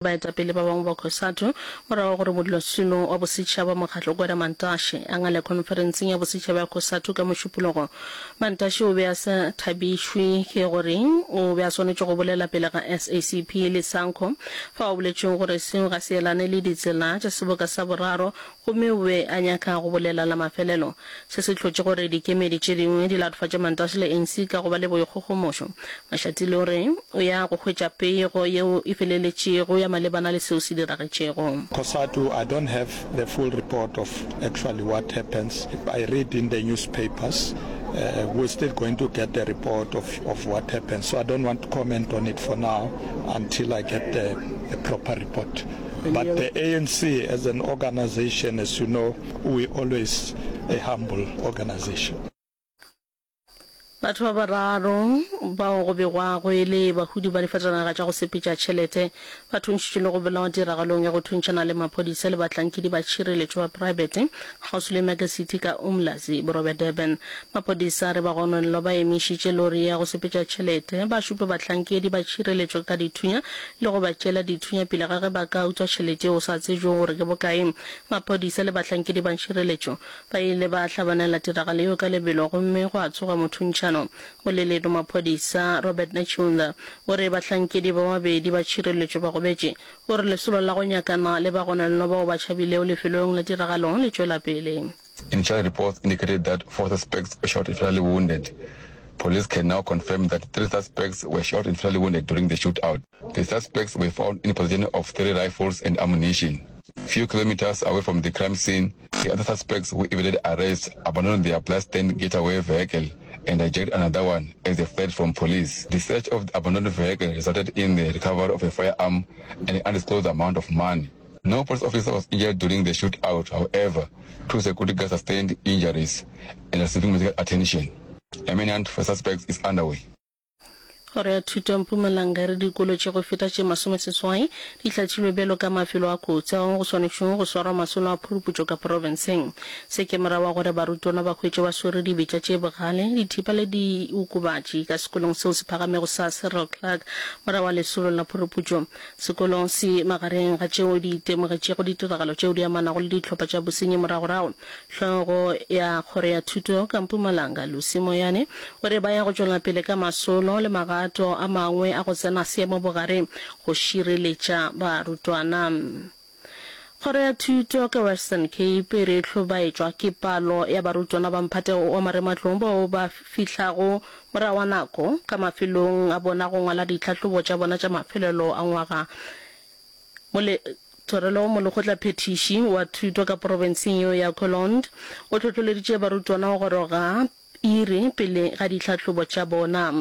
Baetapele ba bangwe ba Cosatu morago ga gore modulasetulo wa bosetšhaba wa mokgatlo Gwede Mantashe a ngale khonferenseng ya bosetšhaba ya Cosatu ka Mošupologo. Mantashe o be a sa thabišwe ke gore o be a swanetše go bolela pele ga SACP le Sanco fao a boletšego gore seo ga se elane le ditsela tša seboka sa boraro gomme o be a nyaka go bolela la mafelelo. Se se hlotše gore dikemedi tše dingwe di latofatše Mantashe le ANC ka go ba le boikgogomošo. Mashatile o re o ya go hwetša pego yeo e feleletšego ya malebana le seo se diragetšego. Cosatu, I don't have the full report of actually what happens. I read in the newspapers. Uh, we're still going to get the report of, of what happens. So I don't want to comment on it for now until I get the, the proper report. But the ANC as an organization, as you know, we always a humble organization. Batho ba bararo bao go begwago e le bahudi ba difatanaga tša go sepetša tšhelete ba thuntšhitšwe le go bolawa tiragalong ya go thuntšhana le maphodisa le bahlankedi ba tšhireletšo ba praebete kgauswi le Mega City ka Umlazi, borwa bja Durban. Maphodisa a re bagononelwa ba emišitše lori ya go sepetša tšhelete, ba šupa bahlankedi ba tšhireletšo ka dithunya le go ba tšeela dithunya pele ga ge ba ka utswa tšhelete yeo go sa tsebjego gore ke bokae. Maphodisa le bahlankedi ba tšhireletšo Ba ile ba hlabanela tiragalo yeo ka lebelo gomme gwa tsoga mothuntšhano. Moleledi wa maphodisa, Robert Netshiunda, o re bahlankedi ba babedi ba tšhireletšo ba gobetše. O re lesolo la go nyakana le bagononelwa bao ba tšhabilego lefelong la tiragalo le tšwela pele. Initial reports indicated that four suspects were shot and fatally wounded. Police can now confirm that three suspects were shot and fatally wounded during the shootout. The suspects were found in possession of three rifles and ammunition. Few kilometers away from the crime scene, the other suspects who evaded arrest abandoned their bloodstained getaway vehicle and hijacked another one as they fled from police. The search of the abandoned vehicle resulted in the recovery of a firearm and an undisclosed amount of money. No police officer was injured during the shootout, however, two security guards sustained injuries and are receiving medical attention. A manhunt for suspects is underway. Kgoro ya Thuto ya Mpumalanga e re dikolo tše go feta tše masomeseswai di hlathilwe bjalo ka mafelo a kotsi ao go swanetšwego go swarwa masolo a phuruputšo ka profenseng. Se ke morago ga gore barutwana ba hwetšwe ba swere dibetša tše bogale, dithipa le diokobatši ka sekolong seo se phagamego sa Cyril Clarke morago ga lesolo la phuruputšo. Sekolo se magareng ga tšeo di itemogetšego ditiragalo tšeo di amanago le dihlopha tša bosenyi moragorago. Hlogo ya Kgoro ya Thuto ka Mpumalanga, Lucy Moyane, o re ba ya go tšwela pele ka masolo le magato a mangwe a go tsena seemo bogare go šireletša barutwana. Kgoro ya Thuto ka Western Cape e re e hlobaetšwa ke palo ya barutwana ba mphato wa marematlou bao ba fihlago morago wa nako ka mafelong a bona go ngwala ditlhahlobo tša bona tša mafelelo a ngwaga. Mole, Thorelo, molekgotlaphethiši wa thuto ka profenseng yeo ya Colond, o hlohloleditše barutwana go goroga iri pele ga ditlhahlobo tša bona.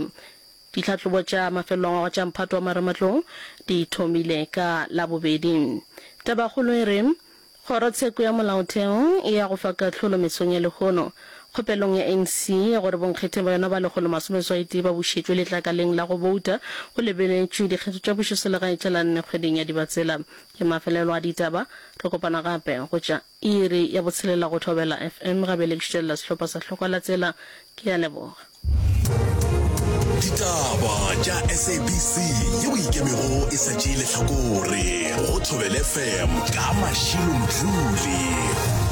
Ditlhahlobo tša mafelelo a ngwaga tša mphato wa marematlou di thomile ka Labobedi. Tabakgolo e re, Kgorotsheko ya Molaotheo e ya go fa kahlolo mesong ya lehono kgopelong ya ANC ya gore bonkgetheng ba yona ba 181 ba bušetšwe letlakaleng la go bouta go lebeletšwe dikgetho tša pušoselegae tša la nne kgweding ya Dibatsela. Ke mafelelo a ditaba. Re kopana gape go tša iri ya botshelela go Thobela FM. Ga bjale ke šutelela sehlopha sa Hlokwa la Tsela. Ke a leboga. Ditaba tša SABC yeo e ikemego e sa tšee lehlakore go Thobela FM ka Mashilo Mdluli.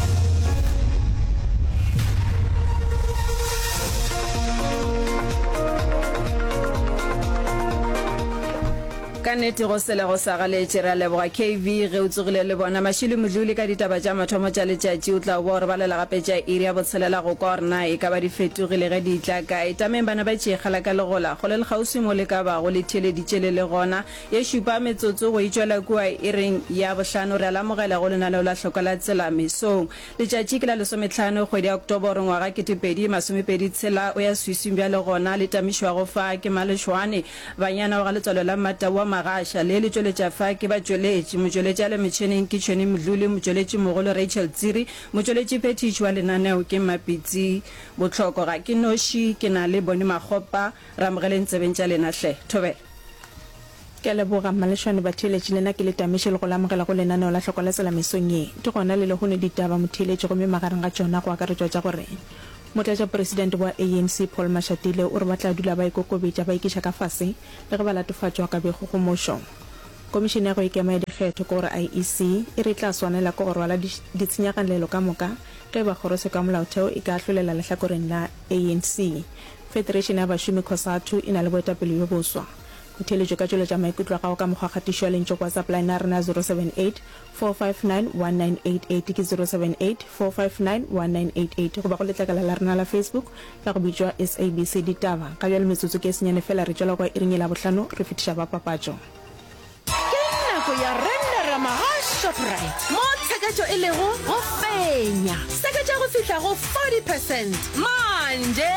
Ka nnete go sele go sa galetše. Re a leboga KV ge o tsogile le bona. Mashilo Modluli ka ditaba tša mathomo tša letšatši o tla boa o re balela gape tša iri ya botshelela go kwa gore na e ka ba di fetogile ge di tla kae. Tameng bana ba tšeegela ka legola kgole le kgauswi mo le ka bago le theeleditše le le gona. Ye šupa metsotso go e tšwela kua iring ya bohlano re a le amogela go lenaneo la Hloko la Tsela mesong. Letšatši ke la lesometlhano kgwedi ya Oktoboro ngwaga 2026 o ya swiswing bjale gona le tamišwago fa ke Malešwane Banyana wa ga Letswalo la Mmatau wa Magasha le le tšweletša fa ke batšweletši motšweletši a le metšheneng ke Tšhweni Mdluli motšweletši mogolo Rachel Tsiri motšweletši phethiši wa lenaneo ke Mmapitsi Bohloko ga ke noši ke na le Boni Makgopa Re amogeleng tsebeng tša lena hle. Thobela. Ke a leboga, Mmalešwane, batheeletši, le nna ke le tamiše le go le amogela go lenaneo la Hloko la Tsela mesong ye. Di gona le lehono ditaba, motheeletši, gomme magareng ga tšona go akaretšwa tša gore Motlatšapresidente wa ANC Paul Mashatile o re ba tla dula ba ikokobetša ba ikiša ka fase le ge ba latofatšwa ka boikgogomošo. Komišene ya go Ikema ya Dikgetho, ke gore IEC, e re e tla swanela ke go rwala ditshenyagalelo ka moka ge e ba kgorotsheko ya molaotheo e ka ahlolela lehlakoreng la ANC. Federation ya bašomi Cosatu e na le boetapele bjo boswa. Motheeletši o ka tšweletša maikutlo a gago ka mokgwa kgatišo ya lentšu go WhatsApp line ya rena ya 078 459 1988 ke 078 459 1988 goba go letlakala la rena la Facebook la go bitšwa SABC Ditaba. Ga bjale metsotso ke e senyane fela re tšwela kwa iring ye Labohlano re fetiša ba papatšo. Ke nako ya Renderama ga Shoprite mo tsheketšo e lego go fenya. Seketša go fihla go 40 percent manje.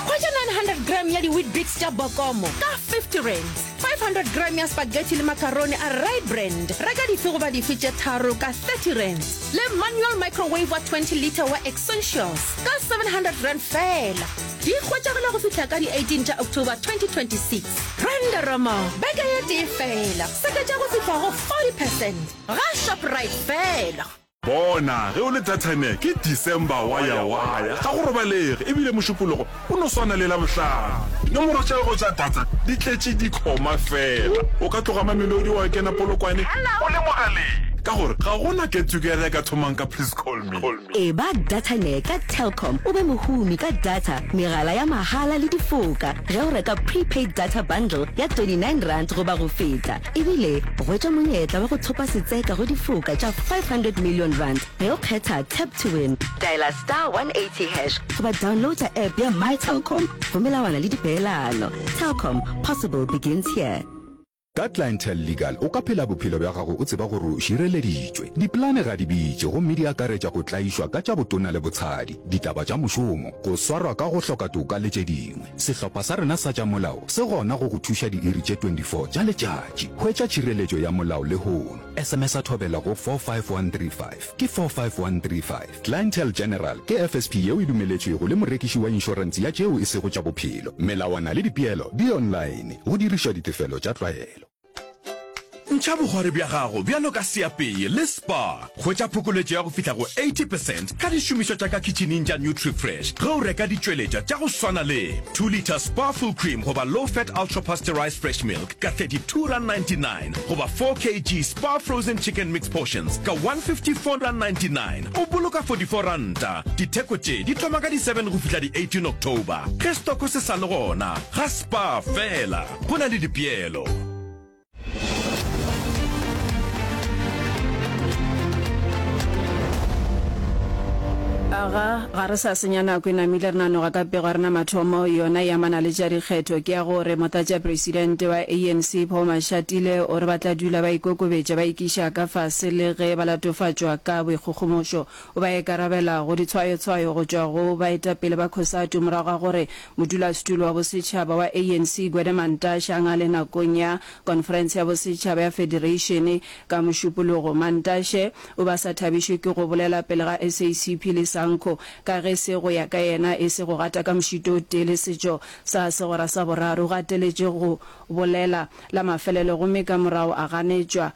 Hwetša 900 gram ya di-Weet-Bix tša Bokomo ka 50 rands, 500 gram ya spaghetti le macaroni a Rye Brand, reka dife goba dife tše tharo ka 30 rands, le manual microwave wa 20 litre wa Essentials ka 700 rand feela. Di hwetšagala go fihla ka di 18 tša October 2026. Renderama beke ye tee feela, seketša go fihla go 40 percent ga Shoprite feela. Bona, ge o le Dathane, ke December waya-waya, ga go robalege, ebile Mošupologo o no swana le Labohlano. Dinomoro tša gago tša data di tletše dikhoma feela. O ka tloga Mamelodi wa kena Polokwane o le mogaleng, ka gore ga go na get-together e ka thomang ka please call me. Eba Dataner ka Telkom o be mohumi ka data, megala ya mahala le difoka ge o reka prepaid data bundle ya R29 goba go feta. Ebile hwetša monyetla wa go thopa setseka go difoka tša R500 million ge o kgetha Tap to Win. Dialer star 180 hash goba downloada app ya My Telkom go melawana le dipeelano. Telkom, possible begins here. Ka Clientele Legal o ka phela bophelo bja gago o tseba gore o šireleditšwe. Dipolane ga di bitše gomme di akaretša go tlaišwa ka tša botona le botshadi, ditaba tša mošomo, go swarwa ka go hloka toka le tše dingwe. Sehlopha sa rena sa tša molao se gona go go thuša diiri tše 24 tša letšatši. Hwetša tšhireletšo ya molao lehono. SMS-a Thobela go 45135. Ke 45135. Clientele General ke FSP yeo e dumeletšwego le morekiši wa inšorense ya tšeo e sego tša bophelo. Melawana le dipeelo di online, go dirišwa ditefelo tša tlwaelo. Ntšha bokgwari bja gago bjalo ka seapei le Spar. Hwetša phokoletšo ya go fihla go 80 percent ka dišomišwa tša ka kitšhining tša Nutrifresh ge o reka ditšweletšwa tša go swana le 2 litre Spar Full Cream goba Low Fat Ultra Pasteurized Fresh Milk ka R32.99 goba 4 kg Spar Frozen Chicken Mix Portions ka R154.99. O boloka R44. Ditheko tše di thoma ka di 7 go fihla di 18 October. Ge stoko se sa le gona, ga Spar fela go na le dipeelo. Aga, ga re sa senya nako e namile re nanoga ka pego ya rena mathomo, yona e amana le tša dikgetho, ke ya gore Motlatšapresidente wa ANC Paul Mashatile o re ba tla dula ba ikokobetša ba ikiša ka fase le ge ba latofatšwa ka boikgogomošo. O ba ikarabela go ditshwayotshwayo go tšwa go baetapele ba Cosatu morago ga gore modulasetulo wa bosetšhaba wa ANC Gwede Mantashe a ngale nakong ya konferense ya bosetšhaba ya federeišene ka Mošupologo. Mantashe o be a sa thabišwe ke go bolela pele ga SACP le Sanco ka ge se go ya ka yena e se go gata ka mošito o tee le setšo sa segwera sa boraro. O gateletše go bolela la mafelelo gomme ka morago a ganetšwa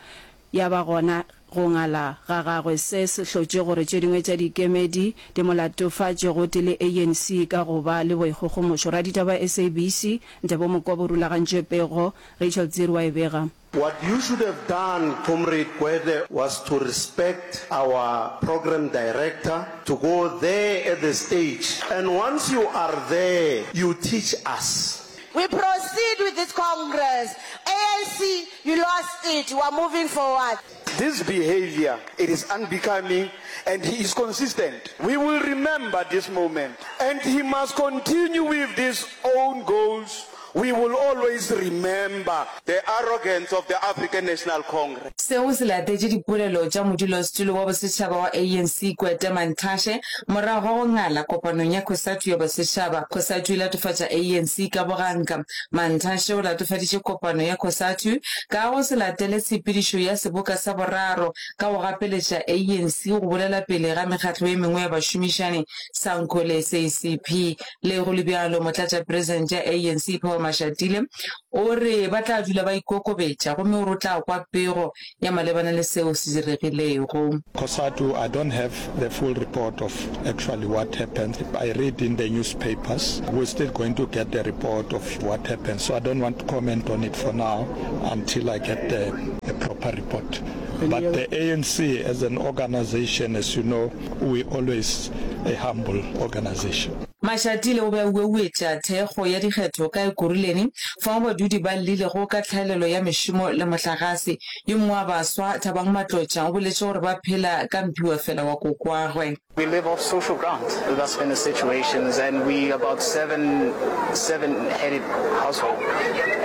ya ba gona go ngala ga gagwe. Se se hlotše gore tše dingwe tša dikemedi di mo latofatše gotee le ANC ka go ba le boikgogomošo. Raditaba wa SABC, Ntebo Mokobo o rulagantše pego, Rachel Tsiri wa e bega. What you should have done, Comrade Gwede, was to respect our program director, to go there at the stage, and once you are there, you teach us. We proceed with this Congress. ANC, you lost it. We are moving forward. This behaviour, it is unbecoming and he is consistent. We will remember this moment and he must continue with these own goals. We will always remember the arrogance of the African National Congress. Seo se latetše dipolelo tša modulasetulo wa bosetšhaba wa ANC Gwede Mantashe morago ga go ngala kopanong ya Cosatu ya bosetšhaba. Cosatu e latofatša ANC ka boganka. Mantashe o latofaditše kopano ya Cosatu ka go se latele tshepedišo ya seboka sa boraro ka go gapeletša ANC go bolela pele ga mekgatlo ye mengwe ya bašomišani, Sanco le SACP. Le go le bjalo, motlatšapresidente ya ANC Paul. Mashatile o re ba tla dula ba ikokobetša gomme o re o tla kwa pego ya malebana le seo se diregilego. Cosatu, I don't have the full report of actually what happened. I read in the newspapers. We're still going to get the report of what happened. So I don't want to comment on it for now until I get the, the proper report. But the ANC as an organization, as you know, we always a humble organization. Mashatile o be a ueuetša thekgo ya dikgetho ka Ekurhuleni fao badudi ba llilego ka tlhaelelo ya mešomo le mohlagase. Yo mongwe wa baswa, Thabang Matlotša, o boletše gore ba phela ka mphiwafela wa kokoagwe. We live off social grant, that's been the situations and we about seven seven headed household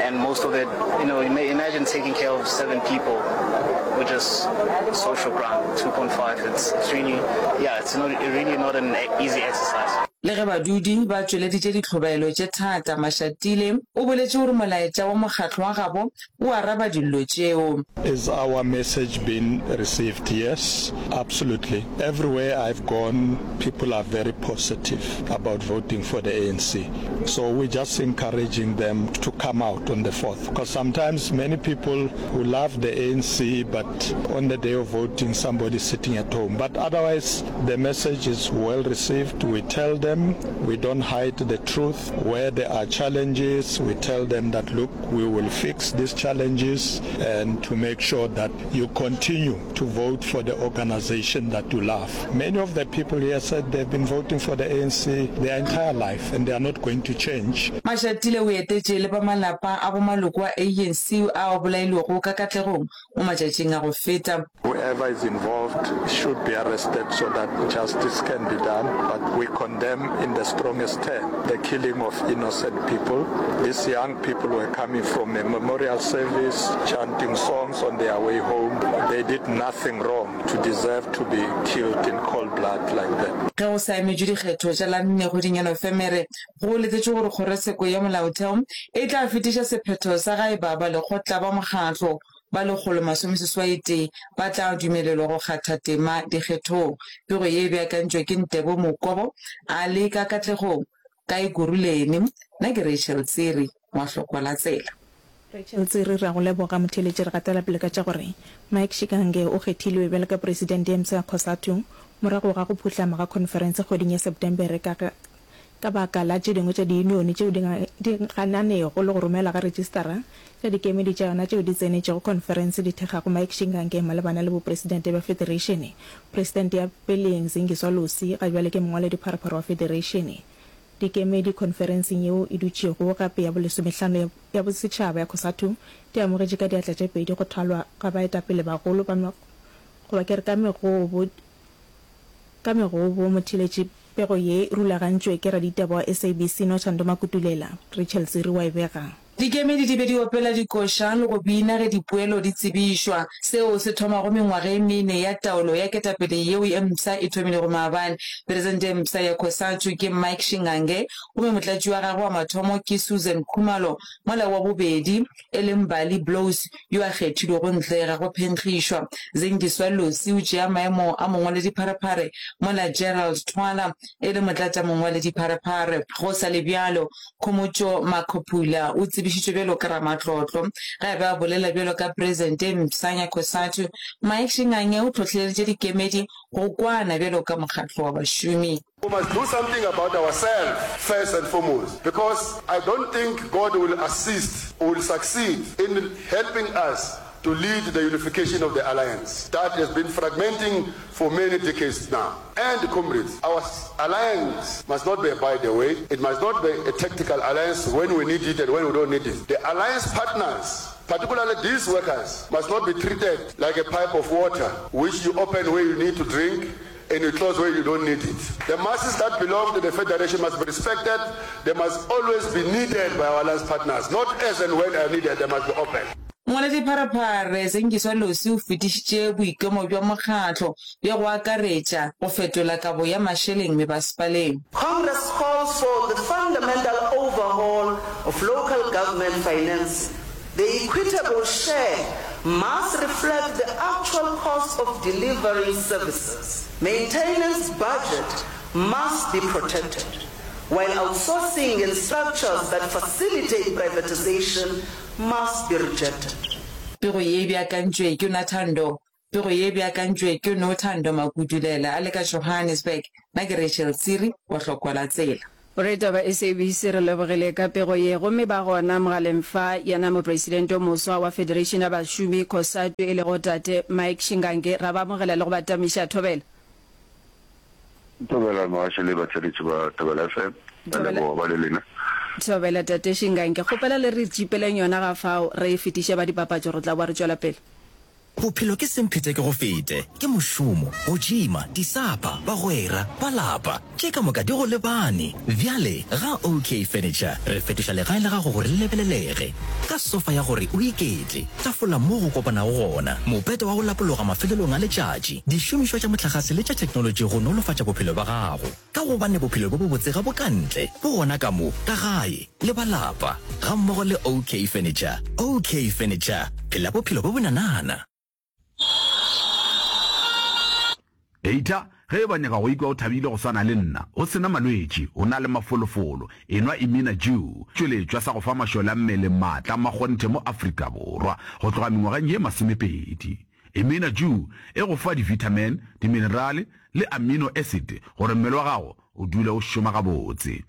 and most of it, you know, imagine taking care of seven people with just social grant 2.5 it's, it's really yeah it's not really not an easy exercise. Le ge badudi ba tšweleditše dihlobaelo tše thata, Mashatile o boletše gore molaetša wa mokgatlo wa gabo o araba dillo tšeo. Is our message been received? Yes, absolutely. Everywhere I've gone, people are very positive about voting for the ANC. So we're just encouraging them to come out on the 4th. Because sometimes many people who love the ANC, but on the day of voting, somebody's sitting at home. But otherwise, the message is well received. We tell them, we don't hide the truth. Where there are challenges, we tell them that, look, we will fix these challenges and to make sure that you continue to vote for the organization that you love. Many of the people here said they've been voting for the ANC their entire life and they are not going to change. Mashatile o etetše le ba malapa a bo maloko a ANC ao a bolailwego ka Katlegong mo matšatšing a go feta. Whoever is involved should be arrested so that justice can be done, but we condemn in the strongest term the killing of innocent people. These young people were coming from a memorial service, chanting songs on their way home. They did nothing wrong to deserve to be killed in cold blood like that. Ge go sa emetšwe dikgetho tša la nne kgweding ya Nofemere, go letetšwe gore Kgorotsheko ya Molaotheo e tla fetiša sephetho sa ga eba balekgotla ba mokgatlo ba 181 ba tla dumelelwa go kgatha tema dikgethong. Pego ye e beakantšwe ke Ntebo Mokobo a le ka Katlegong, ka Ekurhuleni. Nna ke Rachel Tsiri wa Hlokwa la Tsela. Rachel Tsiri, Re a go leboga motheeletši. Re gatela pele ka tša gore Mike Shikange o kgethilwe bjalo ka Presidente ya mpsha ya Cosatu morago ga go phuhlama ga khonferense kgweding ya Septembere ka Ka baka la tše dingwe tša diyunione tšeo di gananego le go romela ga rejistara tša dikemedi tša yona tšeo di tsenetšego khonferense di thekgago Mike Shingange malebana le bopresidente bja federeišene, presidente ya peleng Zingiswa Losi ga bjale ke mongwaledipharephare wa federeišene. Dikemedi khonferenseng yeo e dutšego gape ya bolesomehlano ya bosetšhaba ya Cosatu di amogetše ka diatla tše pedi go thwalwa ga baetapele bagolo ba goba ke re ka megobo Ka megobo, motheeletši Pego ye e rulagantšwe ke raditaba wa SABC Nothando Makutulela, Rachel Tsiri wa e bega. Dikemedi di be di opela dikoša le go bina ge dipoelo di tsebišwa. Seo se thomago mengwaga e mene ya taolo ya ketapele yeo e mpsha e thomilego maabane. Presidente e mpsha ya Cosatu ke Mike Shingange gomme motlatši wa gagwe wa mathomo ke Susan Khumalo mola wa bobedi e le Mbali Blose yo a kgethilwego ntle ga go phenkgišwa. Zingiswa Losi o tšea maemo a mongwaledipharephare mola Gerald Thwala e le motlatšamongwaledipharephare. Go sa le bjalo, Khomotšo Makhuphula o tsebišitšwe bjalo ka ramatlotlo. Ge a be a bolela bjalo ka Presidente e mpsha ya Cosatu, Mike Shingange o hlohleleditše dikemedi go kwana bjalo ka mokgatlo wa bašomi. We must do something about ourselves first and foremost because I don't think God will assist or will succeed in helping us to lead the unification of the alliance that has been fragmenting for many decades now. And comrades, our alliance must not be a by the way, it must not be a tactical alliance when we need it and when we don't need it. The alliance partners particularly these workers, must not be treated like a pipe of water which you open where you need to drink and you close where you don't need it. The masses that belong to the federation must be respected. They must always be needed by our alliance partners. Not as and when are needed, they must be open. Mongwaledipharephare Zingiswa Losi o fetišitše boikemo bja mokgatlo bja go akaretša go fetola kabo ya mašeleng mebasepaleng. Congress calls for the fundamental overhaul of local government financing. The equitable share must reflect the actual cost of delivering services. Maintenance budget must be protected. while outsourcing and structures that facilitate privatization must be rejected. Pego ye e beakantšwe ke Nothando Pego ye e beakantšwe ke Nothando Makudulela a le ka Johannesburg. Nna ke Rachel Tsiri wa Hlokwa la Tsela. Boretaba SABC re lebogile ka pego ye gomme ba gona mogaleng fa yena mopresidente o moswa wa Federation ya Bašomi Cosatu e lego Tate Mike Shingange ra ba amogela le go ba tamiša thobela. Thobela mogaši le batheeletši ba Thobela FM. Re Thobela. leboga ba le lena. Thobela Tate Shingange kgopela le re tšipeleng yona ga fao re e fetiše ba dipapatšo re tla boa re tšwela pele. Bophelo ke semphete ke go fete, ke mošomo, go tšima, disapa, bagwera, ba lapa, tše ka moka di go lebane. Bjale ga OK Furniture re fetoša legae la gago gore le lebelelege. Ka sofa ya gore o iketle, tafola mo go kopanago gona, mopete wa go lapologa mafelelong a letšatši, dišomišwa tša mohlagase le tša theknolotši go nolofatša bophelo bja gago. Ka gobane bophelo bjo bobotse ga bo ka ntle, bo gona ka mo, ka gae, le ba lapa, gammogo le OK Furniture. OK Furniture, phela bophelo bjo bonanana. Data, Ge e ba nyaka go ikwa o thabile go swana le nna, o se na malwetši, o na le mafolofolo, enwa Imina Dew, tšweletšwa sa go fa mašole a mmele maatla a makgonthe mo Afrika Borwa go tloga mengwageng ye masomepedi. Imina Dew e go fa di-vitamin, diminerale le amino acid gore mmele wa gago o dule o šoma gabotse.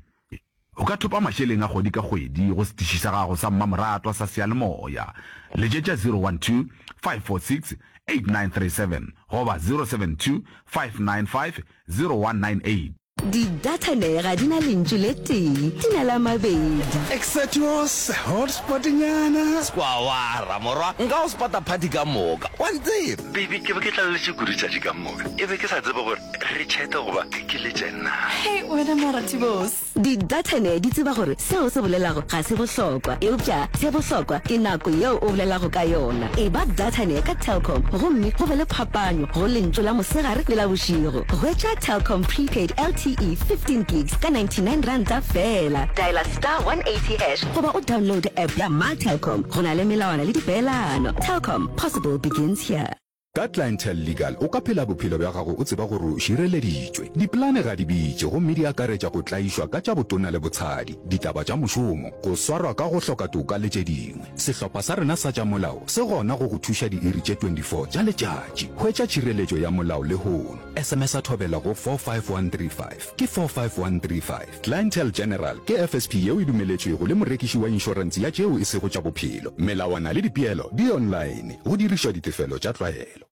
O ka thopa mašeleng a kgwedi ka kgwedi go setiši sa gago sa mmamoratwa sa seyalemoya. Letšetša 012 546 8937 goba 072 595 0198. Di-data ne ga di na lentšu le tee, di na le a mabedi. Exetus, hotspot-nyana. Skwawara, morwa, nka go spota party ka moka, wa ntseba. Baby, ke be ke tlaleletše kudu tšatši ka moka. E be ke sa tsebe gore re chat-e goba ke letše na. Hei, wena mara Tibos. Di-data-ne di tseba gore seo o se bolelago ga se bohlokwa, eupša se bohlokwa ke nako yeo o bolelago ka yona. Eba data-ne ka Telkom gomme go be le phapanyo go lentšu la mosegare le la bošego. Hwetša Telkom Prepaid LTE 15 gigs ka 99 ranta feela. Diala star 180 hash goba o downloade app ya My Telkom. Go na le melawana le dipeelano. Telkom, possible begins here. Ka Clientele Legal o ka phela bophelo bja gago o tseba gore o šireleditšwe. Dipolane ga di bitše gomme di akaretša go tlaišwa ka tša botona le botshadi, ditaba tša mošomo, go swarwa ka go hloka toka le tše dingwe. Sehlopha sa rena sa tša molao se gona go go thuša diiri tše 24 tša letšatši. Hwetša tšhireletšo ya molao lehono. SMS-a Thobela go 45135. Ke 45135. Clientele General ke FSP yeo e dumeletšwego le morekiši wa inšorense ya tšeo e sego tša bophelo. Melawana le dipeelo di online. Go dirišwa ditefelo tša tlwaelo.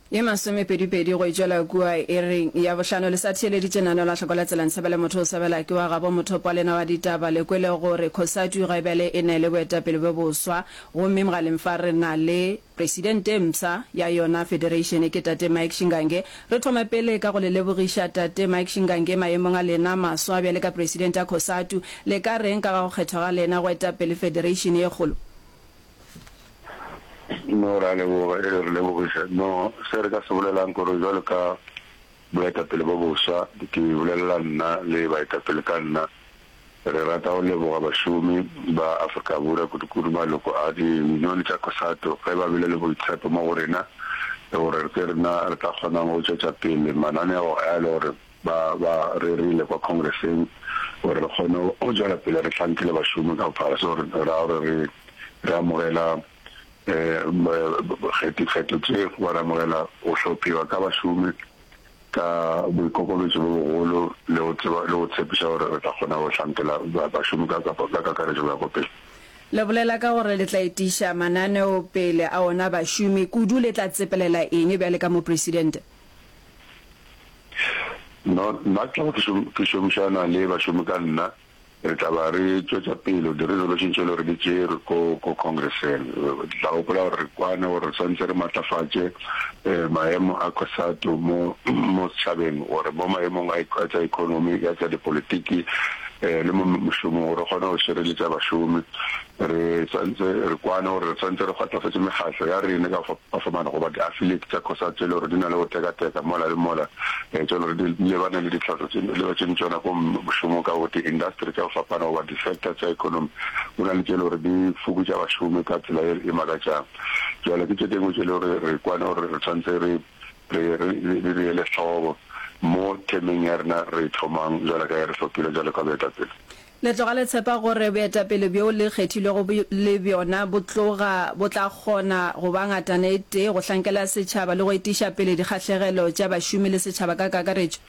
Ye masomepedipedi go e tšwela kua iring ya bohlano. Le sa theeleditše lenaneo la Hloko la Tsela Ntshebele Motho o Sebela ke wa gabo mothopo wa lena wa ditaba. Le kwele gore Cosatu ga bjale e ne le boetapele bjo boswa gomme mogaleng fa re na le Presidente e mpsha ya yona federation ke Tate Mike Shingange. Re thome pele ka go le lebogiša Tate Mike Shingange maemong a lena maswa bjale ka Presidente ya Cosatu. Le ka reng ka ga go kgethwa ga lena go eta pele federation ye kgolo? No, re a leboga, e re lebogiša. No, se re ka se bolelang ke gore bjalo ka boetapele bo boswa, ke bolelela nna le baetapele ka nna, re rata go leboga bašomi ba Afrika Borwa, kudukudu maloko a diyunione tša Cosatu, ge ba bile le boitshepo mo go rena le gore ke rena re tla kgonang go tšwetša pele mananeo a le gore ba ba rerile kwa Congresseng gore re kgone go tšwela pele re hlankele bašomi ka bophara. So re ra gore re re amogela dikgetho tše goba re amogela go hlophiwa ka bašomi ka boikokobetšo bo bogolo le go tseba le go tshepiša gore re tla kgona go hlankela bašomi ka ka kakaretšo go ya ko pele. Le bolela ka gore le tla etiša mananeo pele a ona bašomi kudu, le tla tsepelela eng bjale ka Mopresidente? No, nna ke tla ba ke šomišana le bašomi ka nna. Re tla ba re tšwetša pele di-resolution tše e le gore di tšerwe ko ko Congresseng. Re tla gopola gore re kwane gore re swanetše re matlafatše maemo a Cosatu mo mo setšhabeng gore mo maemong a a tša economy, ya tša dipolitiki le mo mošomong gore re kgone go šireletša bašomi. Re swanetše re kwane gore re swanetše re kgotlafatše mekgahlo ya rena ka go fapafapana goba di-affiliate tša Cosatu tše e le gore di na le go tekateka mola le mola tše e le gore di lebane le ditlhohlo tše le ba tšeng tšona ko mošomong ka go di-industry tša go fapana goba di-sector tša economy. Go na le tše e le gore di fokotša bašomi ka tsela ye e makatšang. Bjale ke tše dingwe tše e le gore re kwane gore re swanetše re re re di ele hloko. mo themeng ya rena re e thomang bjalo ka ge re hlophilwe bjalo ka boetapele. Le tloga le tshepa gore boetapele bjo le kgethilwego le bjona bo tloga bo tla kgona go ba ngatana e tee go hlankela setšhaba le go etiša pele dikgahlegelo tša bašomi le setšhaba ka kakaretšo?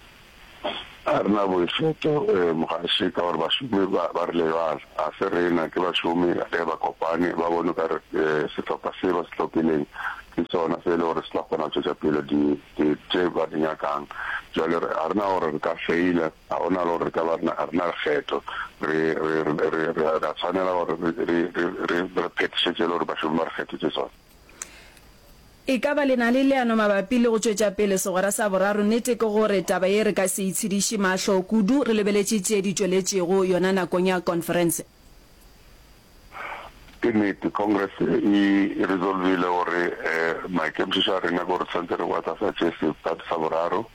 Ga re na boikgetho mogaši ka gore bašomi ba ba re lebala. Ga se rena, ke bašomi ge ba kopane ba bone o ka re sehlopha se ba se hlophileng ke sona se e le gore se tla kgona go tšwetša pele di di tše ba di nyakang. Bjale re ga re na gore re ka feila, ga go na le gore re ka ba re na ga re na lekgetho. Re re re re re a tshwanela gore re re re re re phethiše tše e le gore bašomi ba re kgethetše tsona. E ka ba le na le leano mabapi le go tšwetša pele segwera sa boraro? Nnete ke gore taba ye re ka se itshediše mahlo kudu re lebeletše tše di tšweletšego yona nakong ya konferense. Ke nnete, Congress e resolvile gore maikemišetšo a rena ke gore tshwanetse re matlafatše sephato sa boraro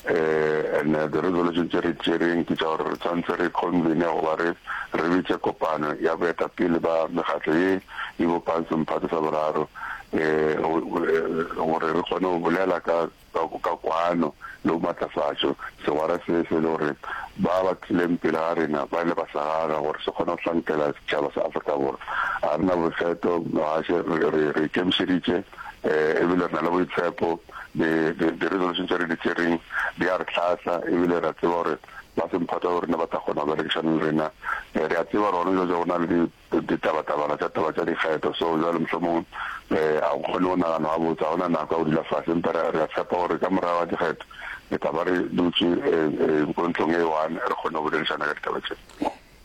and the resolution tše re tšereng ke tša gore re tshwanetse re convene goba re re bitše kopano ya boetapele ba mekgatlo ye e bopang semphato sa boraro gore re kgone go bolela ka ka kwano le go matlafatšo segwera se se le gore ba ba tlileng pele ga rena ba ile ba sa gaga gore se kgone go hlankela setšhaba sa Afrika Borwa. Ga re na boikgetho, gaše re re ikemišeditše ebile re na le boitshepo. Di-resolution tše re di tšereng di a re hlahla ebile re a tseba gore ba semphato ba rena ba tla kgona go berekišana le rena. Re a tseba gore gona bjale go na le Ditabatabana tša taba tša dikgetho. So bjale mohlomongwe ga go kgone go naganwa gabotse, ga go na nako ya go dula fase, empa re, re a tshepa gore ka morago ga dikgetho re tla ba re dutše ko ntlong e one re kgone go boledišana ka ditaba tše.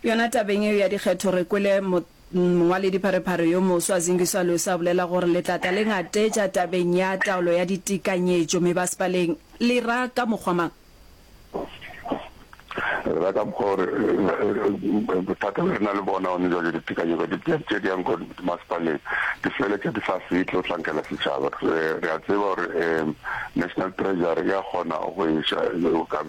Yona tabeng yeo ya dikgetho re kwele mongwaledipharephare yo moswa Zingiswa Losi a bolela gore le tla tla le ngatetša tabeng ya taolo ya ditekanyetšo mebasepaleng. Le ra ka mokgwa mang? Re rata mokgwa gore bothata be re na le bona gone jwale ditekanyetso tše di yang ko masepaleng di feletša di sa fihle go hlankela setšhaba. Re a tseba gore National Treasury ya kgona go iša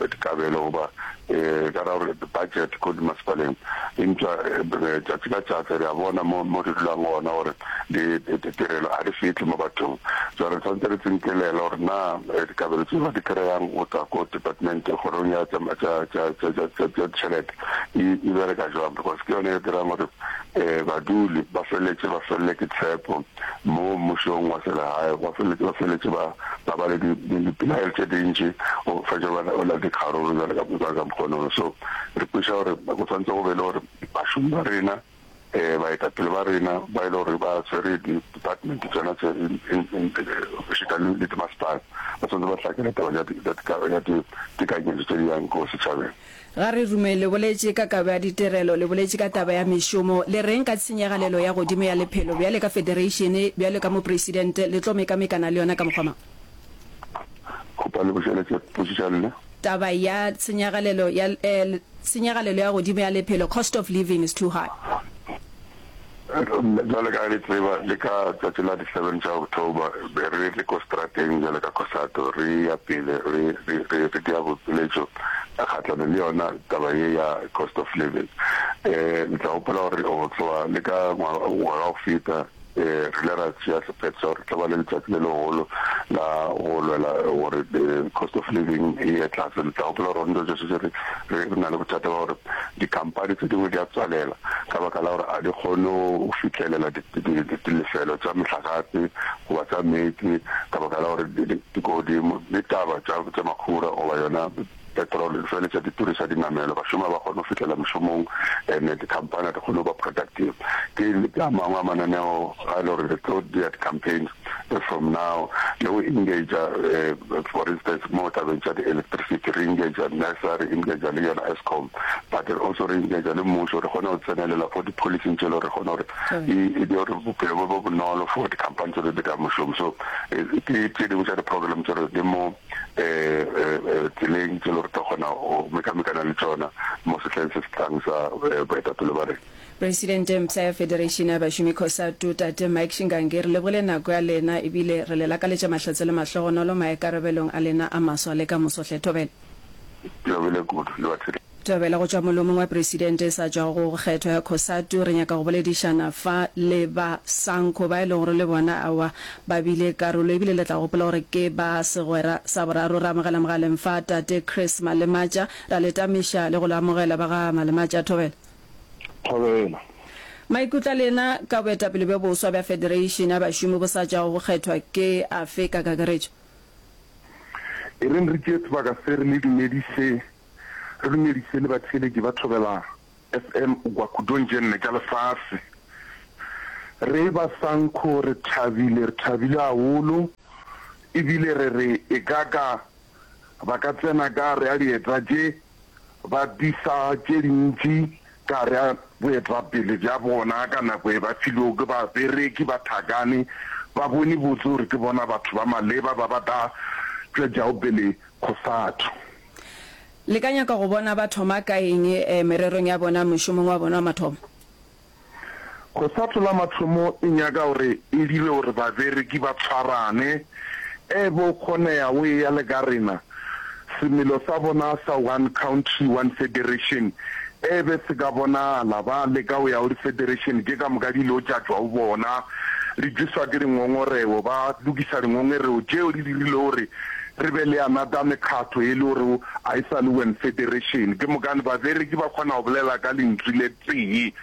dikabelo goba ka ra gore budget ko dimasepaleng, eupša tšatši ka tšatši re a bona mo mo re dulang gona gore ditirelo ga di fihle mo bathong. Jwale re tshwanetse re tsinkelele gore na Dikabelo tše ba di kry-ang go tšwa ko department, kgorong ya tša ditšhelete e bereka jwang, because ke yone e dirang gore baduli ba feleletše ba felele ke tshepo mo mmušong wa selegae, ba feleletše ba feleletše ba ba ba le dipelaelo tše dintši, go fetša ba la dikgaruru bjale ka ka mokgonono. So re kweša gore go tshwanetse go be le gore bašomi ba rena Baetapele ba rena ba e le gore ba swere di-department tsona tse ešita le dimasepala ba tshwanetse ba hlakele taba ya ditekanyetšo tše di yang ko setšhabeng. Ga re rume, le boletše ka kabo ya ditirelo, le boletše ka taba ya mešomo, le reng ka tshenyagalelo ya godimo ya lephelo bjale ka federeišene, bjalo ka mopresidente, le tlo mekamekana le yona ka mokgwa mang? Kgopa le bušeletše potšišo ya lena. Taba ya tshenyagalelo ya tshenyagalelo ya godimo ya lephelo, cost of living is too high. Bjale ka ge le tseba, le ka tšatši la di seven tša October be re le ko strateng bjale ka Cosatu re ya pele re re re re dia boipiletšo kgahlano le yona taba ye ya cost of living. Le tla gopola gore go tloga le ka ngwaga wa go feta Re ile ra tšea sephetho sa gore re tla ba le letšatši le legolo la go lwela gore cost of living e ye tlase. Le tla gopola gore gona bjale re re na le bothata ba gore dikhamphani tše dingwe di a tswalela ka baka la gore ga di kgone go fihlelela dilefelo tša mohlagase goba tša meetse ka baka la gore di ko godimo, le taba tša makhura goba yona Petrol di feleletša di turiša dinamelwa, bašomi ga ba kgone go fihlela mešomong and dikhamphani ga di kgone go ba productive. Ke ke a mangwe a mananeo a e le gore re tlo dira di-campaigns from now le go engagea for instance mo tabeng tša di-electricity re engagea NERSA, re engagea le yona Eskom but re also re engagea le mmušo re kgone go tsenelela for di-policing tše le gore re kgone gore e dire gore bophelo bo be bonolo for dikhamphani tše di dirang mošomo. So ke tše dingwe tša di-program tše re di mo tseleng tše le gore tlo kgona go mekamekana le tšona mo sehleng se se tlang sa boetapele ba rena. Presidente mpsha ya Federation ya Bašomi Cosatu, Tate Mike Shingange, re lebogile nako ya lena ebile re le lakaletša mahlatse le mahlogonolo maikarabelong a lena a maswa le ka moso hle. Thobela. Ke lebohile kudu le batheeletši. Thobela go tšwa molomong wa Presidente e sa tšwago go kgethwa ya Cosatu, re nyaka go boledišana fa le ba Sanco ba e lego gore le bona aowa ba bile karolo ebile le tla gopola gore ke ba segwera sa boraro. Re amogela mogaleng fa Tate Chris Malematša, ra le tamiša le go le amogela ba ga Malematša. Thobela. Thobela. Maikutlo a lena ka boetapele bjo boswa bja Federation ya Bašomi bo sa tšwago go kgethwa ke afe ka kakaretšo? E reng re tšee sebaka se re le dumediše, re dumediše le batheeletši ba Thobela FM gwa khudong tše nne tša lefase. Re ba Sanco re thabile, re thabile haholo, ebile re re e ka ka ba ka tsena ka gare ga dieta tše ba disa tše dintši ka gare ga boetapele bja bona ka nako e ba filwego ke babereki ba Thakane, ba bone botse gore ke bona batho ba maleba ba ba tla tšwetšago pele Cosatu. Le ka nyaka go bona ba thoma ka eng mererong ya bona mošomong wa bona wa mathomo? Cosatu la mathomo e nyaka gore e dire gore babereki ba tshwarane, e bo kgoneya o eya le ka rena, semelo sa bona sa one country one federation e be se ka bonala, ba leka go ya go di federation tše ka moka di ile go tša tšwa go bona, di tšweswa ke dingongorego, ba lokisa dingongerego tšeo di dirile gore re be le another mekgatlo e le gore a e sa le one federation, ke mokane babereki ba kgona go bolela ka lentšu le tee.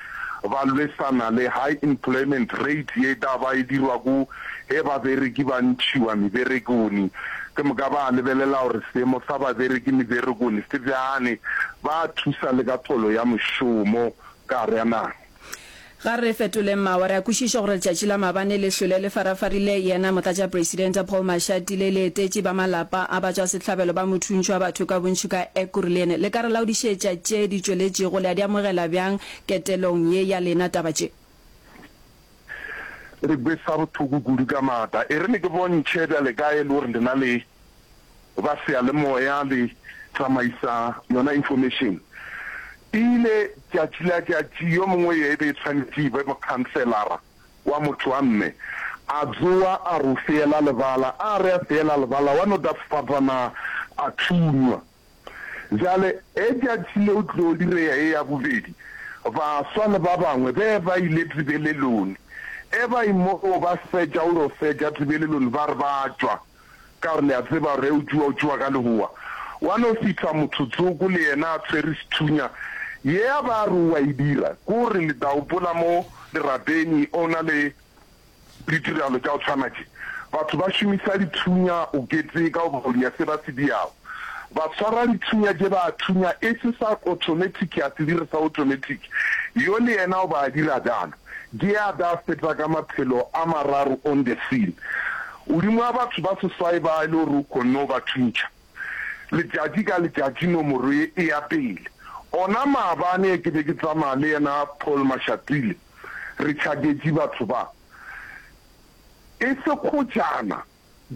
Ba lwesana le high employment rate ye tla ba e dirwa ko ge babereki ba ntšhiwa meberekoni. Ke moka ba lebelela gore seemo sa babereki meberekoni se bjane, ba thusa le ka tholo ya mošomo ka gare ga naga. Ga re fetoleng mawa, re a kwešiša gore letšatši la maabane le hlwele le farafarile yena Motlatšapresidente Paul Mashatile le etetše ba malapa a batšwasehlabelo ba mothuntšho wa batho ka bontši ka Ekurhuleni. Le ka re laodišetša tše di tšweletšego, le a di amogela bjang ketelong ye ya lena taba tše? Re kwesa bohloko kudu ka maatla. E re ne ke bontšhe bjale ka e le gore lena le ba seyalemoya le tsamaisa yona information. E ile tšatši la tšatši yo mongwe ye e be e tshwanetše e be mokhanselara wa motho wa mme a tsowa a re o feela lebala, a re a feela lebala wa no da sefatanaga a thunywa. Bjale ge tšatši leo tlo direya ye ya bobedi, baswa le ba bangwe be ba ile tebelelong. E ba moo ba fetša go yo fetša tebelelong ba re ba tšwa, ka gore le a tseba gore ge o tšua o tšua ka lehoa. Wa no fihla motho tsoko le yena a tshwere sethunya, ye a ba re o a e dira, ke gore le tla gopola mo dirapeng o na le Ditiragalo tša go tshwana tše, batho ba šomisa dithunya go keteka goba go dia se ba se diago. Ba tshwara dithunya tše ba a thunya e se sa automatic a se dire sa automatic. Yo le yena o ba a dira bjalo. Ke a da feta ka maphelo a mararo on the scene. Godimo ga batho ba seswai ba e le gore o kgonne go ba thuntšha. Letšatši ka letšatši nomoro ye e ya pele. Ona maabane ke be ke tsamaya le yena Paul Mashatile. Re tšhaketše batho ba. E se kgojana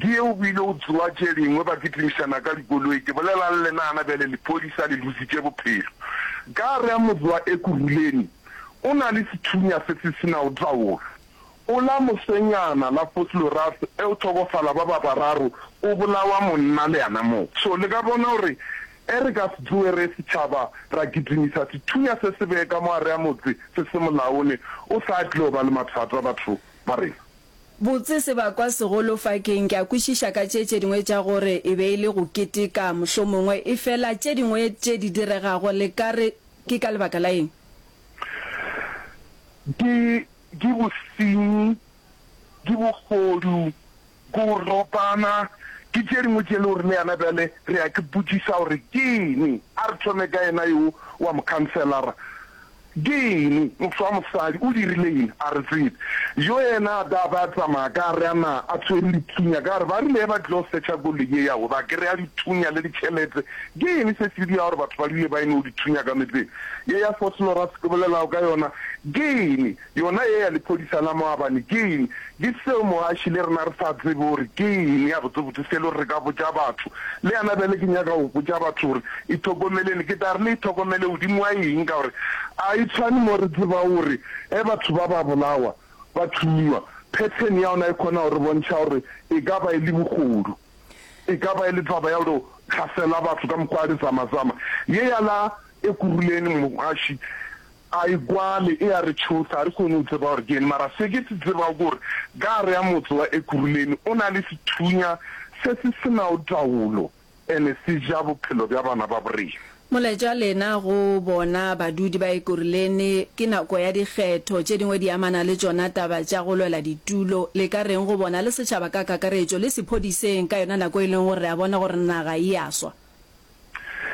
ke ye o bile o tsoa tše dingwe ba kitimišana ka dikoloi. Ke bolela le lena gana bjale lephodisa le lositše bophelo. Ka gare ga motse wa Ekurhuleni o na le sethunya se se se nago taolo. O la mosenyana la Vosloorus e o hlokofala ba ba bararo o bolawa monna le yana mo. So le ka bona gore e re ka se tsoge re setšhaba ra kitimisa sethunya se se bee ka mo gare ga motse se se molaone o sa tlilo ba le mathata batho ba rena. Botse sebakwa segolo fa keng? Ke a kwešiša ka tše tše dingwe tša gore e be e le go keteka mohlomongwe, efela tše dingwe tše di diregago le ka re ke ka lebaka la eng? Ke Ke bosenyi, ke bohodu, ke go ropana, ke tše dingwe tše le gore le yana bjale re ya ke botšiša gore ke eng. A re thome ka yena yo wa mokhanselara. Ke eng? Motho wa mosadi o dirile eng? A re tsebe. Yo yena a da ba tsamaya ka gare a na a tshwere dithunya ka gare. Ba rile ge ba tlilo search-a koloi ye ya gwe ba kry-a dithunya le ditšhelete. Ke eng se se dira gore batho ba dule ba e no dithunya ka metseng? Ye ya Vosloorus ke bolelago ka yona ke eng? Yona ye ya lephodisa la maabane ke eng? Ke seo mogaši le rena re sa tsebe gore ke eng gabotsebotse se le gore re ka botša batho. Le yana bjale ke nyaka go botša batho gore ithokomeleni. Ke tla re le ithokomele godimo ga eng ka gore a e tshwane mo re tsebago gore ge batho ba ba bolawa, ba thunywa, pattern ya yona e kgona go re bontšha gore e ka ba e le bogodu. E ka ba e le taba ya go hlasela batho ka mokgwa wa dizamazama. Ye ya la. Ekurhuleni mogaši a e kwale e a re tšhosa, ga re kgone go tseba gore ke eng. Mara se ke se tsebago ke gore ka gare ga motse wa Ekurhuleni o na le sethunya se se se nago taolo ene se ja bophelo bja bana ba borena. Molaetša wa lena go bona badudi ba Ekurhuleni, ke nako ya dikgetho, tše dingwe di amana le tšona taba tša go lwela ditulo. Le ka reng go bona le setšhaba ka kakaretšo le sephodiseng ka yona nako e leng gore re a bona gore naga e a swa?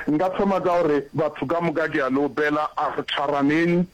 Nka thoma ka gore batho ka moka ke a le opela, a re tshwaraneng,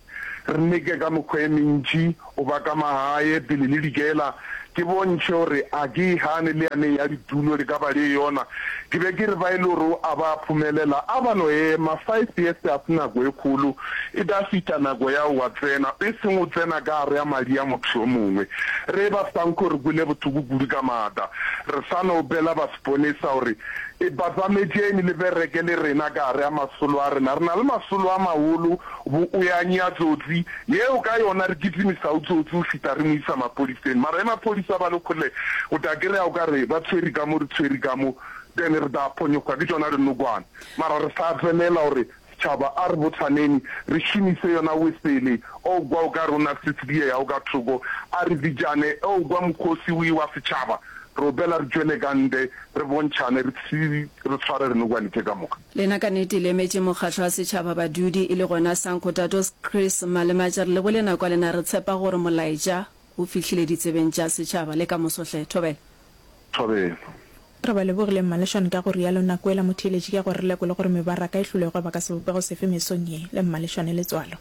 re leke ka mekgwa e mentši go ba ka magae pele le dikela. Ke bontšhe gore a ke e gane le yane ya ditulo le ka ba le yona. Ke be ke re ba e le gore a ba phomelela, a ba no ema. Five years ga se nako e kgolo, e tla fihla nako ya wa tsena, e seng o tsena ka gare ga madi a motho yo mongwe. Re ba Sanco re kwele bohloko kudu ka maatla. Re sa no opela ba seponesa gore E Batsametšeni le bereke le rena ka gare ga masolo a rena. Re na le masolo a magolo, bo o ya nyea tsotsi, yeo ka yona re kitimisago tsotsi go fihla re mo isa maphodiseng. Mara ge maphodisa ba le kgole, o tla kry-a o ka re ba tshwere ka mo, re tshwere ka mo, then re tla phonyokgwa ke tšona dinokwane. Mara re sa tselela gore setšhaba a re bothaneni, re šomise yona wesele, o kwa o ka re o na le se se diegago ka thoko, a re bitšane, o kwa mokgosi o ewa setšhaba, re opela re tšwele ka ntle, re bontšhane, re re tshware dinokwane tše ka moka. Lena ka nnete le emetše mokgatlo wa setšhaba badudi e le gona Sanco Tatos Chris Malematša re lebole nako ya lena re tshepa gore molaetša o fihlile ditsebeng tša setšhaba le ka moso hle. Thobela. Thobela. Re ba lebogile Mmaleshwane ka go rialo nako ela motheeletši ke ya gore re lekole gore mebaraka e hlolwe e gweba ka sebopego sefe mesong ye le Mmaleshwane Letswalo.